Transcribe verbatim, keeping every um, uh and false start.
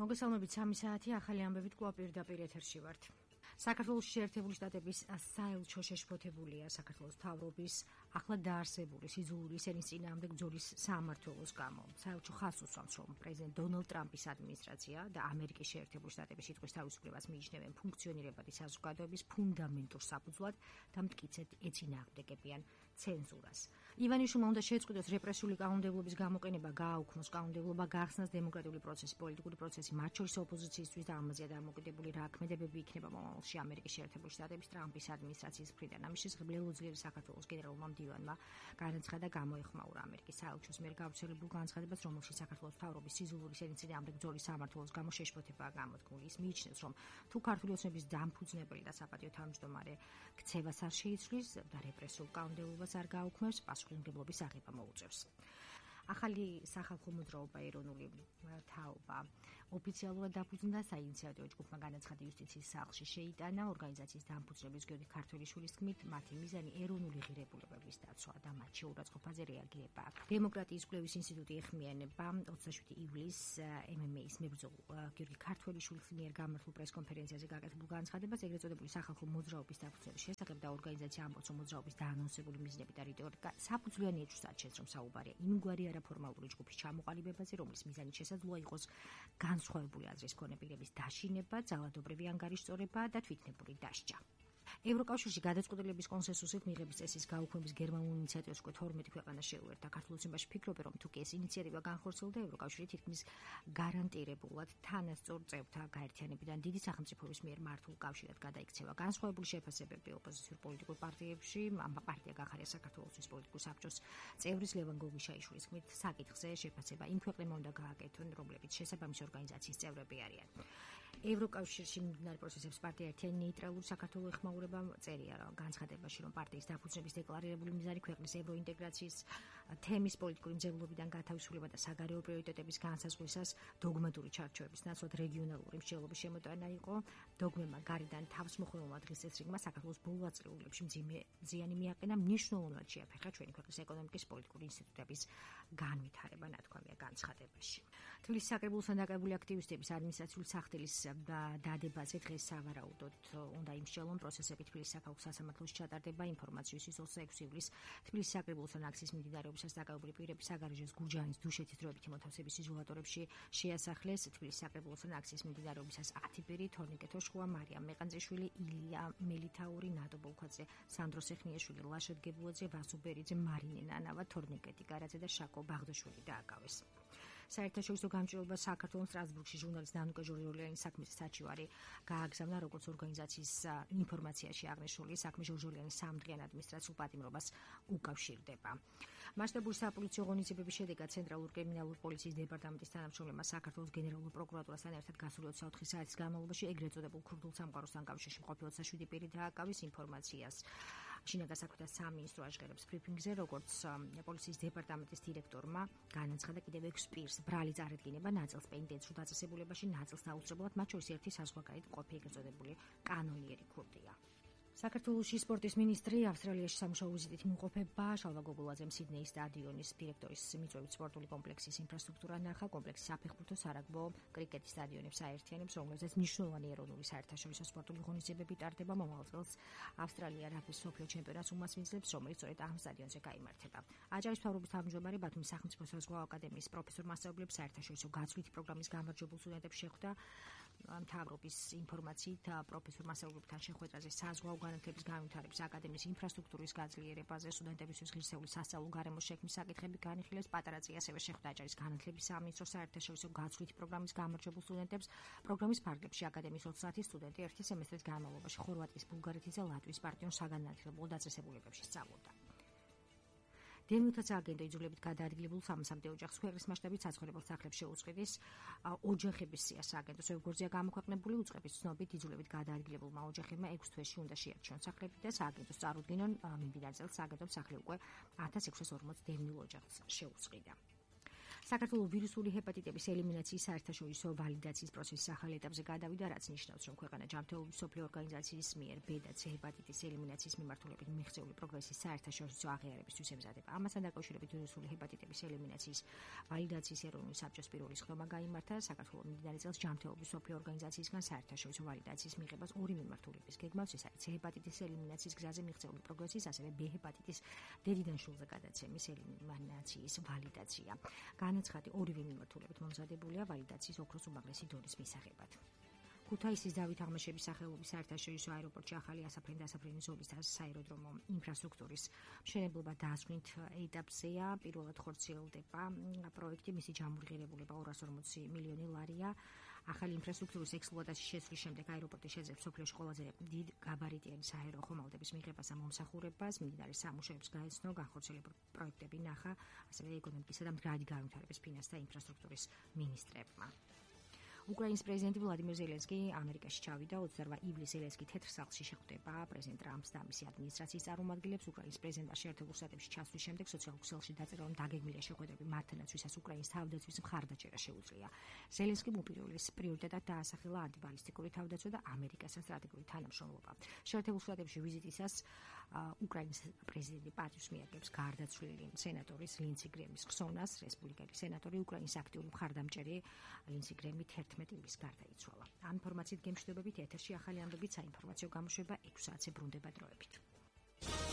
მოგესალმებით სამი საათი ახალი ამბებით კვლავ პირდაპირ ეთერში ვართ. საქართველოს შეერთებული შტატების საელჩო შეშფოთებულია საქართველოს მთავრობის ახლა დაარსებული სიძულვი ისენის წინააღმდეგ ბრძოლის სამმართველოს გამო. საელჩო ხაზს უსვამს, რომ პრეზიდენტ დონალდ ტრამპის ადმინისტრაცია და ამერიკის შეერთებული შტატების სიტყვის თავისუფლებას მიიჩნევენ ფუნქციონირებადი საზოგადოების ფუნდამენტურ საფუძვლად და მტკიცედ ეწინააღმდეგებიან ცენზურას. ივანიშვილმა უნდა შეწყვიტოს რეპრესიული კანონმდებლობის გამოყენება, გააუქმოს კანონმდებლობა, გახსნას დემოკრატიული პროცესი, პოლიტიკური პროცესი, მათ შორის ოპოზიციისთვის და ამაზეა დამოკიდებული რა ქმედებები იქნება მომავალში ამერიკის შეერთებული შტატების ტრამპის ადმინისტრაციის მხრიდან. ამის შესახებ ლელოძლიერი საქართველოს გენერალურმა მდივანმა განაცხადა, გამოეხმაურა ამერიკის საელჩოს მიერ გავრცელებულ განცხადებას, რომელშიც საქართველოს მთავრობის სიძულვი ისენის წინააღმდეგ ბრძოლის სამმართველოს გამო შეშფოთებაა გამოთქმული. ის მიიჩნევს, რომ თუ ქართული ოცნების დამფუძნებელი და საპატიო თავმჯდომარე ქცევას არ შეიცვლის და რეპრესიულ კანონმდებლობას არ გააუქმებს, პასუხისმგებლობის აღება მოუწევს. ახალი სახალხო მოძრაობა ეროვნული თაობა ოფიციალურად დაფუძნდა, საინიციატივო ჯგუფმა განაცხადა იუსტიციის სახლში შეიტანა. ორგანიზაციის დამფუძნების გიორგი ქართველიშვილის თქმით, მათი მიზანი ეროვნული ღირებულებების დაცვა და მათ შეურაცხყოფაზე რეაგირება. დემოკრატიის კვლევის ინსტიტუტი ეხმიანება ოცდაშვიდი ივლისს ემ ემ ეის მებრძოლ გიორგი ქართველიშვილის მიერ გამართულ პრესკონფერენციაზე გაკეთებულ განცხადებას ეგრეთ წოდებული სახალხო მოძრაობის დაფუძნების შესახებ და ორგანიზაცია ამბობს, რომ მოძრაობის დაანონსებული მიზნები და რიტორიკა საფუძვლიანი ეჭვს აჩენს, რომ საუბარია იმგვარი არაფორმალური ჯგუფის ჩამოყალიბებაზე, რომლის მიზანი შესაძლოა იყოს განსხვავებული აზრის მქონე პირების დაშინება, ძალადობრივი ანგარიშწორება და თვითნებური დასჯა. ევროკავშირში გადაწყვეტილების კონსენსუსით მიღების წესის გაუქმების გერმანულ ინიციატივას უკვე თორმეტი ქვეყანა შეუერთა. ქართულოცნებაში ფიქრობენ, რომ თუ კი ეს ინიციატივა განხორციელდა, ევროკავშირი თითქმის გარანტირებულად თანასწორ წევრთა გაერთიანებიდან დიდი სახელმწიფოების მიერ მართულ კავშირად გადაიქცევა. განსხვავებული შეფასებები ოპოზიციურ პოლიტიკურ პარტიებში, ამ პარტია გახარია საქართველოს პოლიტიკურ საბჭოს წევრის ლევან გოგიშაიშვილის თქმით, საკითხზე შეფასება იმ ქვეყნებმა უნდა გააკეთონ, რომლებიც შესაბამისი ორგანიზაციის წევრები არიან. ევროკავშირში მიმდინარე პროცესებს პარტია ერთიანი ნეიტრალური საქართველო ეხმაურება. წერია განცხადებაში, რომ პარტიის დაფუძნების დეკლარირებული მიზანი ქვეყნის ევროინტეგრაციის თემის პოლიტიკური მძევლობიდან გათავისუფლება და საგარეო პრიორიტეტების განსაზღვრისას დოგმატური ჩარჩოების ნაცვლად რეგიონალური მსჯელობის შემოტანა იყო. დოგმებმა გარედან თავისმოხვეულმა დღის წესრიგმა საქართველოს ბოლო ათწლეულებში მძიმე ზიანი მიაყენა, მნიშვნელოვნად შეაფერხა ჩვენი ქვეყნის ეკონომიკის პოლიტიკური ინსტიტუტების განვითარება, ნათქვამია განცხადებაში. თბილისის საკრებულოსთან დაკავებული აქტივისტების ადმინისტრაციული სახდელის დადებაზე დღეს სავარაუდოდ უნდა იმსჯელონ პროცესები თბილისის საქალაქო სასამართლოში ჩატარდება. ინფორმაციის ოცდაექვსი ივლისს თბილისის საკრებულოსთან აქციის მიმდინარეობისას დაკავებული პირების საგარეჟოს გურჯაანის დუშეთის დროებითი მოთავსების იზოლატორებში შეასახლეს. თბილისის საკრებულოსთან აქციის მიმდინარეობისას ათი პირი: თორნიკე თოშხუა, მარიამ მეყანძიშვილი, ილია მელითაური, ნატო ბოლქვაძე, სანდრო სეხნიაშვილი, ლაშა დგებულაძე, ვასო ბერიძე, მარინე ნანავა, თორნიკე ტიკარაძე და შაკო ბაღდაშვილი დააკავეს. საერთაშორისო გამჭირვება საქართველოს სტრასბურგში ჟურნალისტ დანუკა ჟორჟოლიანის საქმის საჩივარი გააგზავნა, როგორც ორგანიზაციის ინფორმაციაში აღნიშნული საქმე ჟორჟოლიანის სამდღიან ადმინისტრაციულ პატიმრობას უკავშირდება. მასშტაბური საპოლიციო ღონისძიებების შედეგად ცენტრალურ კრიმინალურ პოლიციის დეპარტამენტის თანამშრომლებმა საქართველოს გენერალურ პროკურატურასთან ერთად გასული ოცდაოთხი საათის განმავლობაში ეგრეთ წოდებულ ქურთულ სამყაროსთან კავშირში მყოფი ოცდაშვიდი პირი დააკავეს. ინფორმაციას შინაგან საქმეთა სამინისტრო აჟღერებს ბრიფინგზე, როგორც პოლიციის დეპარტამენტის დირექტორმა განაცხადა, კიდევ ექვს პირს ბრალი წარადგინება, ნაწილს პენიტენციურ დაწესებულებაში, ნაწილს აუცილებლად, მათ შორის ერთი საზღვარგარეთ მყოფი ეგრეთ წოდებული კანონიერი ქურდია. საქართველოში სპორტის მინისტრი ავსტრალიაში სამუშაო ვიზიტით იმყოფება. შალვა გოგულაძემ სიდნეის სტადიონის დირექტორის მიწვევით სპორტული კომპლექსის ინფრასტრუქტურა ნახა. კომპლექსი საფეხბურთო, სარაგბო, კრიკეტის სტადიონებს აერთიანებს, რომლებზეც მნიშვნელოვანი ეროვნული საერთაშორისო სპორტული ღონისძიებები ტარდება. მომავალ წელს ავსტრალია რაგბის მსოფლიო ჩემპიონატს უმასპინძლებს, რომელიც სწორედ ამ სტადიონზე გაიმართება. აჭარის მთავრობის თავმჯდომარე ბათუმის სახელმწიფო საზღვაო აკადემიის პროფესორ მასწავლებლებს საერთაშორისო გაცვლითი პროგრამის გამარჯვებულ სტუდენტებს შეხვდა. მთავრობის ინფორმაციით პროფესორ მასწავლებლებთან შეხვედრაზე საზღვაო განათლების განვითარების აკადემიის ინფრასტრუქტურის გაძლიერებაზე, სტუდენტებისთვის ღირსეული სასწავლო გარემოს შექმნის საკითხები განიხილეს. პატარაძე ასევე შეხვდა აჭარის განათლების სამინისტროს საერთაშორისო გაცვლითი პროგრამის გამარჯვებულ სტუდენტებს. პროგრამის ფარგლებში აკადემიის ოცდაათი სტუდენტი ერთი სემესტრის განმავლობაში ხორვატიის, ბულგარეთის და ლატვიის პარტიონ საგანმანათლებლო დაწესებულებებში სწავლობდა. დევნილთა სააგენტო იძულებით გადაადგილებულ სამასამდე ოჯახს ქვეყნის მასშტაბით საცხოვრებელ სახლებს შეუწყდეს. ოჯახების სია სააგენტოს ვებგვერდზეა გამოქვეყნებული. უწყების ცნობით იძულებით გადაადგილებულმა ოჯახებმა ექვს თვეში უნდა შეარჩიონ სახლები და სააგენტოს წარუდგინონ. მიმდინარე წელს სააგენტომ სახლი უკვე ათას ექვსას ორმოც დევნილ ოჯახს შეუწყდა. საქართველოს ვირუსული ჰეპატიტების ელიმინაციის საერთაშორისო ვალიდაციის პროცესის ახალ ეტაპზე გადავიდა, რაც ნიშნავს, რომ ქვეყანა ჯანმრთელობის მსოფლიო ორგანიზაციის მიერ ბ და C ჰეპატიტის ელიმინაციის მიმართულებით მიღწეული პროგრესის საერთაშორისო აღიარებისთვის ემზადება. ამასთან დაკავშირებით ვირუსული ჰეპატიტების ელიმინაციის ვალიდაციის ეროვნული საბჭოს პირველი სხდომა გაიმართა. საქართველოს მიმდინარე წელს ჯანმრთელობის მსოფლიო ორგანიზაციისგან საერთაშორისო ვალიდაციის მიღებას ორი მიმართულების გეგმავს, ეს არის C ჰეპატიტის ელიმინაციის გზაზე მიღწეული პროგრესის, ასევე B ჰეპატიტის დედიდან შულზე გადაცემის ელიმინაციის ვალიდაცია. განაცხადი ორივე მიმართულებით მომზადებულია ვალიდაციის ოქროს უმაღლესი დონის მისაღებად. ქუთაისის დავით აღმაშენის სახელობის საერთაშორისო აეროპორტში ახალი ასაფრენ-დასაფრენი ზოლის საეროდრომო ინფრასტრუქტურის მშენებლობა დასვით ეტაპზეა. პირველად ხორციელდება პროექტი, მისი ჯამურღირებულება ორას ორმოცი მილიონი ლარია. ახალი ინფრასტრუქტურის ექსპლუატაციის შესვლის შემდეგ აეროპორტი შეძლებს მსოფლიოში ყველაზე დიდ გაბარიტიანი სააერო ხომალდების მიღებას და მომსახურებას. მიმდინარე სამუშაოებს გაეცნო, განხორციელებულ პროექტები ნახა, ასევე ეკონომიკისა და მდგრადი განვითარების ფინანსთა ინფრასტრუქტურის მინისტრებმა. უკრაინის პრეზიდენტი ვლადიმერ ზელენსკი ამერიკაში ჩავიდა. ოცდაორმა ივლისს ზელენსკი თეთრ სახლში შეხვდება პრეზიდენტ ტრამპს და მისი ადმინისტრაციის წარმომადგენლებს. უკრაინის პრეზიდენტმა შეერთებულ შტატებში ჩასვლის შემდეგ სოციალურ ქსელში დაწერა, რომ დაგეგმილია შეხვედრები მათთანაც, ვისაც უკრაინის თავდაცვის მხარდაჭერა შეუძლია. ზელენსკიმ უპირველეს პრიორიტეტად დაასახელა ანტიბალისტიკური თავდაცვა და ამერიკასთან სტრატეგიული თანამშრომლობა. შეერთებულ შტატებში ვიზიტისას უკრაინის პრეზიდენტი პატივს მიაგებს გარდაცვლილი სენატორის ლინცი გრემის ხსოვნას. რესპუბლიკელი სენატორი უკრაინის აქტიური მხარდამჭერი ლინცი გრემი თერთმეტი ივლის გარდაიცვალა. ამ ინფორმაციით გემშვიდობებით ეთერში ახალი ამბებით, საინფორმაციო გამოშვება ექვსი საათზე ბრუნდება დროებით.